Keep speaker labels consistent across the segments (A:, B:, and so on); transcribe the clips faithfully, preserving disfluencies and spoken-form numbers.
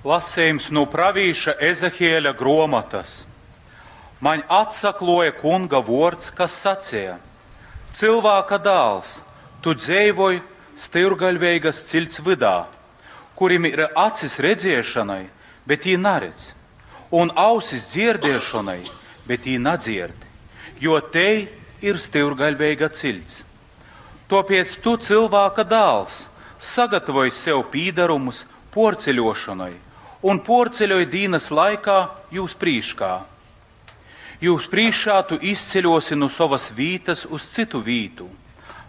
A: Lasījums no pravīša Ezehieļa grāmatas. Man atsakloja kunga vārds, kas sacīja: Cilvēka dēls, tu dzīvoj styrgaļveigas cilts vydā, kurim ir acis redzēšanai, bet jī naredz, un ausis dzirdēšanai, bet jī nadzird, jo te ir styrgaļveiga cilts. Tāpēc tu, cilvēka dēls, sagatavoj sev pīdarumus porceļošanai un porceļoj dīnas laikā jūs prīškā. Jūs prīškā tu izceļosi no savas vītas uz citu vītu.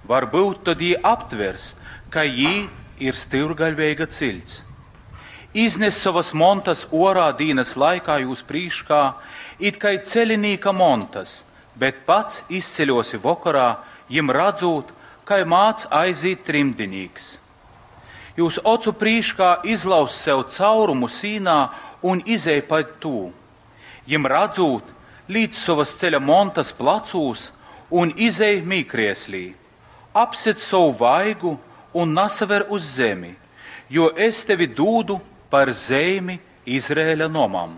A: Varbūt tad jī aptvers, ka jī ir styrgaļveiga cilts. Iznes savas montas orā dīnas laikā jūs prīškā, it kai celinīka montas, bet pats izceļosi vakarā, jim radzot, kai māc aiziet trimdinīks. Jūs ocu prīškā izlauz sev caurumu sīnā un izej pa tū. Jim radzot, līdz savas ceļa montas placūs un izej mīkrieslī. Apset savu vaigu un nasaver uz zemi, jo es tevi dūdu par zeimi Izrēļa nomam.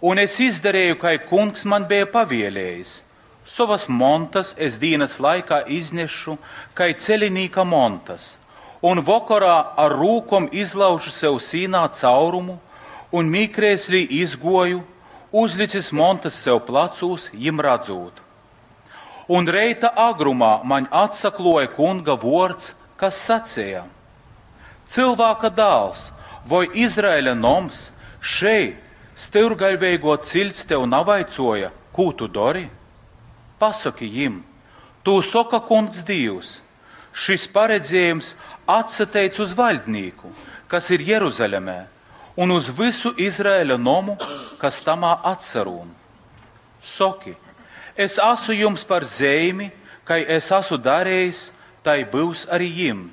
A: Un es izdarīju, kai kungs man bija pavielējis. Savas montas es dienas laikā iznešu, kai celinīka montas, un vakarā ar rūkom izlaužu sev sīnā caurumu, un mīkrēslī izgoju, uzlicis montas sev placūs, jim radzot. Un reita agrumā man atsakloja kunga vārds, kas sacīja: Cilvēka dēls voi Izraēļa noms šeit styrgaļveigo cilts tev navaicoja, kū tu dari? Pasaki jim, tū soka kungs Dievs. Šis paredzējums atsateic uz valdnieku, kas ir Jeruzalemē, un uz visu Izraēļa nomu, kas tamā atsarūn. Soki, es esmu jums par zeimi, kai es esmu darījis, tai būs arī jim.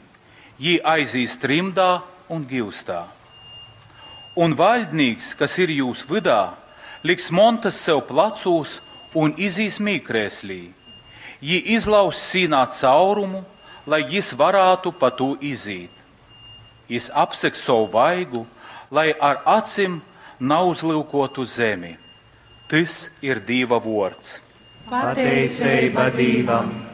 A: Jī aizīs trimdā un gīvstā. Un valdnieks, kas ir jūs vydā, liks montas sev placūs un izīs mīkrēslī. Jī izlauz sīnā caurumu, lai jis varētu pa tū izīt. Jis apseks savu vaigu, lai ar acim nauzlūkotu zemi. Tys ir Dīva vārds.
B: Pateiceiba Dīvam!